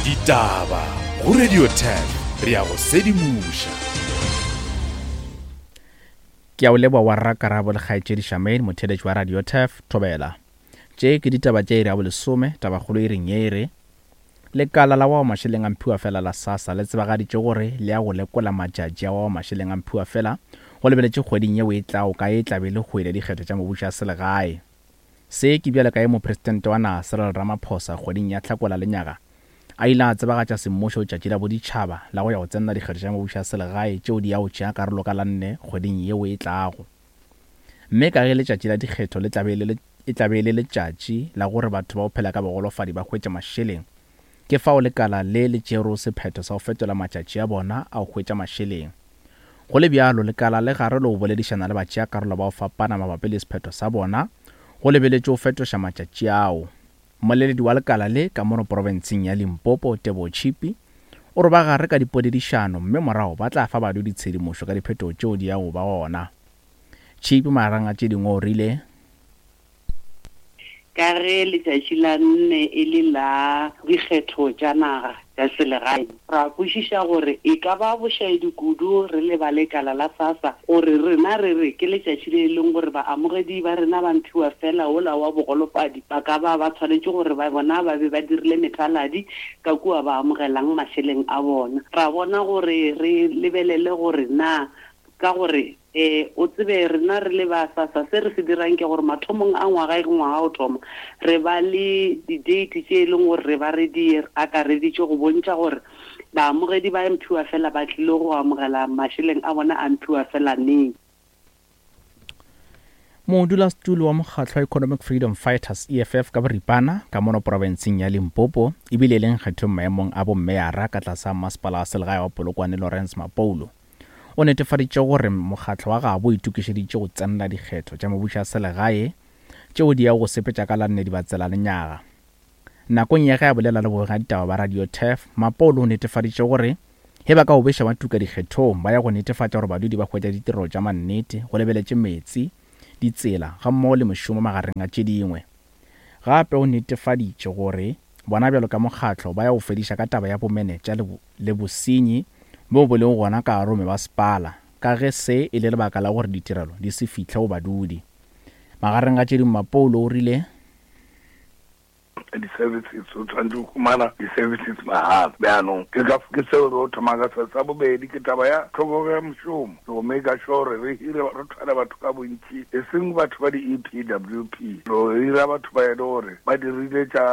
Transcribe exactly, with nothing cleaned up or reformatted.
Ditaba go Radio ten re ya go sedimoša. Ke a o leboa wa rra Karabo le kgaetšedi Charmaine, motheeletši wa Radio Turf, Thobela. Tše ke ditaba tša iri ya bolesome, tabakgolo iring ye e re, Lekala la wa mašeleng a mphiwafela la SASSA le tsebagaditše gore le ya go lekola matšatši a wa mašeleng a mphiwafela go lebeletše kgweding yeo e tlago ka e tla be e le kgwedi ya dikgetho tša mebušo ya selegae. Se ke bjalo ka ge Mopresidente wa naga Cyril Ramaphosa kgweding ya Hlakola lenyaga a ile a tsebagatša semmušo tšatši la boditšhaba la go ya go tsenela dikgetho tša mebušo ya selegae tšeo di yago tšea karolo ka la nne kgweding yeo e tlago. Mme ka ge letšatši la dikgetho le tla be le e tla be e le letšatši la gore batho ba go phela ka bogolofadi ba hwetše mašeleng, ke fao lekala le le tšerego sephetho sa go fetola matšatši a bona a go hwetša mašeleng. Go le bjalo, lekala le gare le go boledišana le batšeakarolo ba go fapana mabapi le sephetho sa bona go lebeletše go fetoša matšatši ao. Mmoleledi wa lekala le ka mono profenseng ya Limpopo, Teboho Chipi, o re ba gare ka dipoledišano mme morago ba tla fa badudi tshedimošo ka diphetogo tšeo di yago ba gona. Chipi magareng a tše dingwe o rile. Ka ge letšatši la nne e le la dikgetho tša naga tša selegae, ra kwešiša gore e ka ba bošaedi kudu re le ba lekala la SASSA gore rena re re ke letšatši le e leng gore baamogedi ba rena ba mphiwafela wola wa bogolofadi ba ka ba ba swanetše gore ba bona ba be ba dirile methaladi ka kua ba amogelang mašeleng a bona. Ra bona gore re lebelele gore na Ka gore, e, o tsebe, rena re le ba SASSA, se re se dirang ke gore mathomong a ngwaga, ge ngwaga o thoma, re ba le di-date tše e leng gore re ba re di akareditše go bontšha gore baamogedi ba mphiwafela ba tlile go amogela mašeleng a bona a mphiwafela neng. Modulasetulo wa mokgatlo wa Economic Freedom Fighters, E F F, ka boripana, ka mono profenseng ya Limpopo, ebile e le nkgethong maemong a bommeyara ka tlase ga masepala wa selegae wa Polokwane Lawrence Mapoulo, o netefaditše gore mokgatlo wa gabo o itokišeditše go tsenela dikgetho tša mebušo ya selegae tšeo di yago go sepetša ka la nne Dibatsela lenyaga. Nakong ya ge a bolela le bobegaditaba ba Radio Turf, Mapolo o netefaditše gore ge ba ka obeša ba tuka dikgethong ba ya go netefatša gore badudi ba hwetša ditirelo tša mannete go lebeletše meetse, ditsela gammogo le mešomo magareng a tše dingwe. Gape o netefaditše gore bona bjalo ka mokgatlo ba ya go fediša ka taba ya bomenetša le, le bosenyi bjo bo lego gona ka gare go mebasepala ka ge se e le lebaka la gore ditirelo di se fihle go badudi. Magareng ga tše dingwe Mapoulo o rile. Di-services, o tshwanetse go humana di-services mahala. Bjanong ke ka ke seo re o thoma ka se. Sa bobedi ke taba ya tlhokego ya mošomo, go make sure re hire, re thwale batho ka bontši, e seng batho ba di-E P W P, re hira batho ba e le gore ba dirile tša